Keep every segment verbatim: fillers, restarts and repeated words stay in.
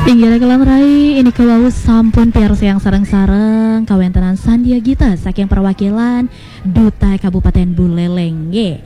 Inggih raka lan rai, nika wau sampun piarsayang sareng-sareng kawéntenan Sandia Gita saking perwakilan Duta Kabupaten Buleleng nggih.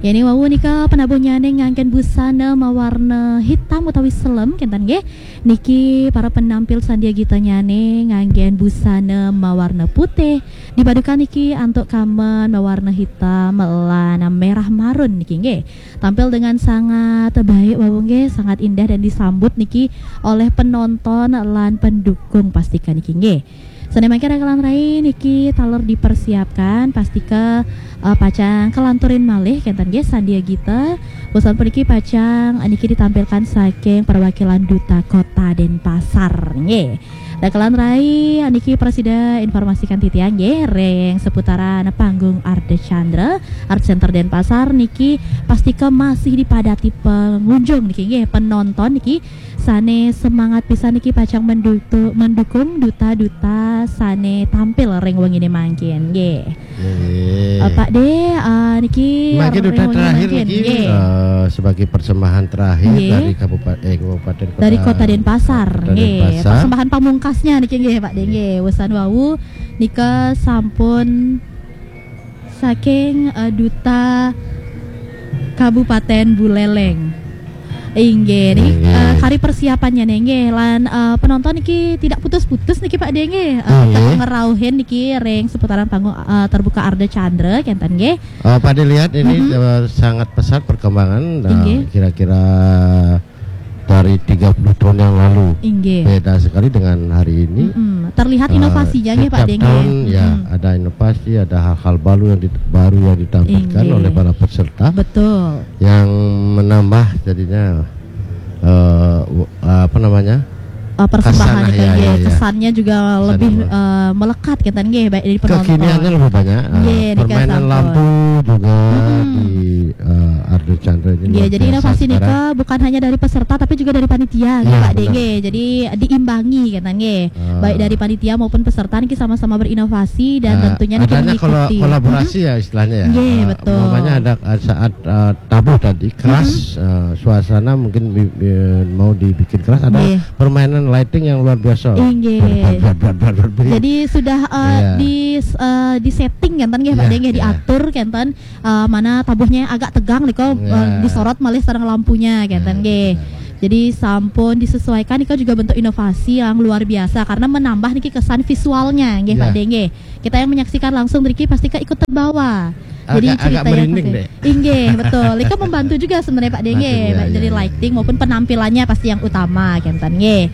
Yéning wau nika penabuhnyané nganggén busana mawarna hitam utawi selem kénten nggih. Niki para penampil Sandia Gitanyane nganggén busana mawarna putih, dipadukan niki antuk kamen mawarna hitam lan merah marun niki nggih. Tampil dengan sangat baik wau nggih, sangat indah dan disambut niki oleh penonton lan pendukung pastika niki nggih. Sané mangke raka lan rai niki taler dipersiapkan pastika eh, pacang kelanturin malih kénten nggih Sandia Gita. Wusan puniki pacang niki ditampilkan saking perwakilan Duta Kota Denpasar nggih. Raka lan rai niki prasida informasikan titiang nggih ring seputaran panggung Ardha Chandra Art Center Denpasar niki pastika masih dipadati pengunjung niki nggih, penonton niki sané semangat pisan niki pacang mendutu- mendukung duta-duta sané tampil ring wenginé mangkin nggih. Nggih. Eh, Pak De, eh, niki Mangkin ring duta wengi terakhir mangkin niki nggih. Eh, sebagai persembahan terakhir Nggih. dari Kabupaten eh, Kabupaten Kota, Dari Kota Denpasar Kota nggih. Denpasar. Persembahan pamungkasnya niki nggih Pak De nggih. Wusan wau nika sampun saking eh, Duta Kabupaten Buleleng. Inggih, niki Inggih. eh, kari persiapannya nih nggih. Lan eh, penonton niki tidak putus-putus niki Pak De nggih. Eh, Inggih. Tetap ngerauhin niki ring seputaran panggung eh, terbuka Ardha Chandra kénten nggih. Eh, Pak De lihat ini Mm-mm. eh, sangat pesat perkembangan. Nah, Inggih. kira-kira dari tiga puluh tahun yang lalu. Inggih. Beda sekali dengan hari ini. Mm-mm. Terlihat Eh, inovasinya nggih Pak setiap De nggih. tahun ya Mm-mm. ada inovasi, ada hal-hal baru yang di- baru yang ditampilkan Inggih. oleh para peserta Betul. yang menambah jadinya eh, w- apa namanya? Eh, persembahan Kesannya, itu ya, nggih, ya, ya. kesannya juga Kesannya lebih mele- eh, melekat kénten nggih baik dari penonton. Kekiniannya lebih banyak. Eh, Nggih, niki permainan sampun. lampu juga Mm-mm. di eh, Ardha Chandra ini Nggih, luar jadi biasa inovasi sekarang. nika bukan hanya dari peserta tapi juga dari panitia nggih Iya, Pak De benar. nggih. Jadi diimbangi kénten nggih. Ah. Baik dari panitia maupun peserta niki sama-sama berinovasi dan Ah, tentunya niki adanya mengikuti. kolo- kolaborasi Mm-mm. ya istilahnya ya. Nggih, Ah, betul. Umpamanya ada ah, saat ah, tabuh tadi keras Mm-mm. ah, suasana mungkin bi- bi- mau dibikin keras ada Nggih. permainan lighting yang luar biasa. Inggih. Blar, blar, blar, blar, blar, blar. Jadi sudah eh, Iya. di eh, di setting kénten nggih Pak Iya, De nggih iya. diatur kénten eh, mana tabuhnya agak tegang nika eh, Iya. disorot malih sareng lampunya kénten Iya, nggih. benar. Jadi sampun disesuaikan nika juga bentuk inovasi yang luar biasa karena menambah niki kesan visualnya nggih Iya. Pak De nggih. Kita yang menyaksikan langsung niki pastika ikut terbawa. Jadi Agak- agak ceritanya merinding pasti- deh. Inggih, betul. Nika membantu juga sebenarnya Pak De nggih. Bantu, iya, Baik iya, dari iya. lighting maupun penampilannya pasti yang utama kénten nggih.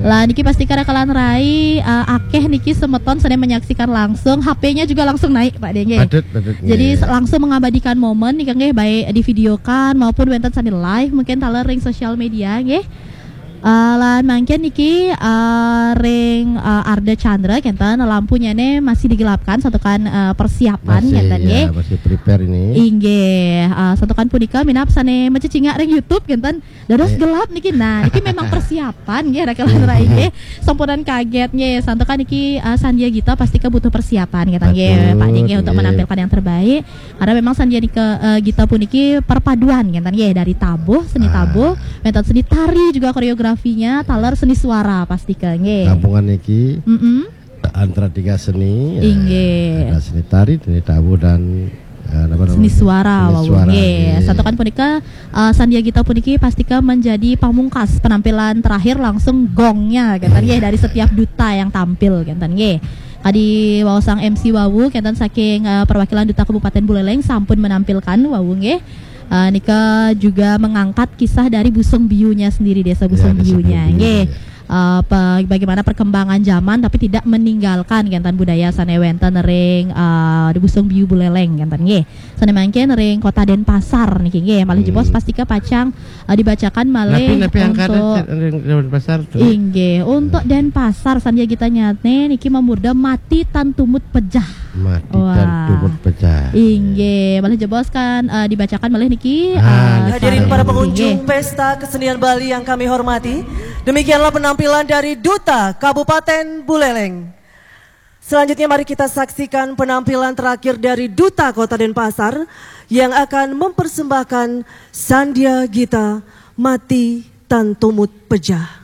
Lah niki pastika raka lan rai eh, akeh niki semeton sané menyaksikan langsung, H P-nya juga langsung naik Pak De nggih. Patut, patut, Jadi nggih. se- langsung mengabadikan momen nika nggih baik divideokan maupun wénten sané live mungkin taler ring sosial media nggih. Eh, lan mangkin niki eh, ring eh, Ardha Chandra kénten lampunya ne masih digelapkan santukan eh, persiapan Masih, kénten ya, nggih. masih prepare ini. Inggih, eh, santukan punika minab sané macecingak ring YouTube kénten dados Eh. gelap niki. Nah, niki memang persiapan nggih raka lan rai nggih. Sampunan kaget nggih. Santukan niki eh, Sandia Gita pastika butuh persiapan kénten nggih Patut, Pak De nggih untuk nggih. menampilkan yang terbaik. Karena memang Sandia Nika, eh, Gita puniki perpaduan kénten nggih dari tabuh, seni Ah. tabuh, wénten seni tari juga koreografinya, taler seni suara pastika nggih. Gabungan niki Mm-mm. antara tiga seni ya. Inggih. Ada seni tari, seni tabuh dan eh, apa namanya? Seni suara Seni wau suara, nggih. nggih. Santukan punika eh, Sandia Gita puniki pastika menjadi pamungkas penampilan terakhir langsung gongnya kénten nggih dari setiap duta yang tampil kénten nggih. Kadi waosang M C wau kénten saking eh, perwakilan Duta Kabupaten Buleleng sampun menampilkan wau nggih. Eh, nika juga mengangkat kisah dari Busung Biunya sendiri, Desa Busung Ya, Desa Biunya Busung Biu, nggih. ya. Eh, pe- bagaimana perkembangan zaman tapi tidak meninggalkan kénten budaya sané wénten ring eh, di Busung Biu Buleleng kénten nggih. Sané mangkin ring Kota Denpasar niki nggih. Malih Hmm. jebos pastika pacang eh, dibacakan malih Napi-napi angkatan untuk ring Denpasar tuh. Inggih, untuk Denpasar Sandia Gita nyatne niki mamurda Mati Tan Tumut Pejah. Mati Wah. Tan Tumut Pejah. Inggih, malih jebos kan eh, dibacakan malih niki. Ah, eh, niki. Hadirin para pengunjung Inggih. Pesta Kesenian Bali yang kami hormati, demikianlah penampilan dari Duta Kabupaten Buleleng. Selanjutnya mari kita saksikan penampilan terakhir dari Duta Kota Denpasar yang akan mempersembahkan Sandia Gita Mati Tan Tumut Pejah.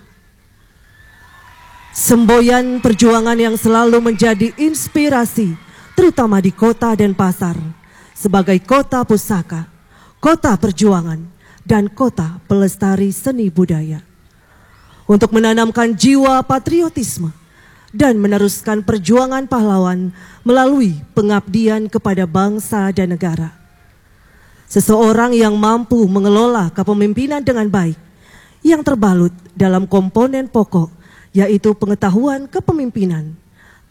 Semboyan perjuangan yang selalu menjadi inspirasi, terutama di kota Denpasar, sebagai kota pusaka, kota perjuangan, dan kota pelestari seni budaya. Untuk menanamkan jiwa patriotisme dan meneruskan perjuangan pahlawan melalui pengabdian kepada bangsa dan negara. Seseorang yang mampu mengelola kepemimpinan dengan baik, yang terbalut dalam komponen pokok, yaitu pengetahuan kepemimpinan,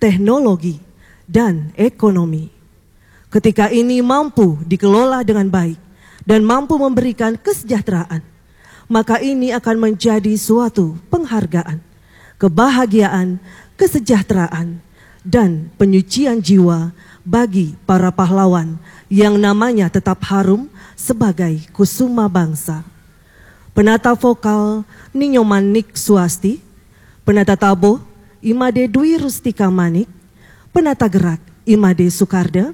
teknologi, dan ekonomi. Ketika ini mampu dikelola dengan baik dan mampu memberikan kesejahteraan, maka ini akan menjadi suatu penghargaan, kebahagiaan, kesejahteraan, dan penyucian jiwa bagi para pahlawan yang namanya tetap harum sebagai kusuma bangsa. Penata vokal, Ni Nyoman Nik Suasti. Penata tabuh, Imade Dwi Rustika Manik. Penata gerak, Imade Sukarda.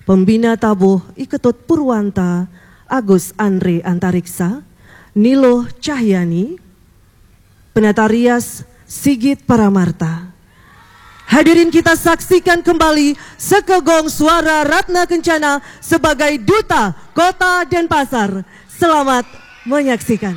Pembina tabuh, I Ketut Purwanta, Agus Andre Antariksa, Niluh Cahyani. Penata rias, Sigit Paramarta. Hadirin, kita saksikan kembali Sekegong Suara Ratna Kencana sebagai duta Kota Denpasar. Selamat menyaksikan.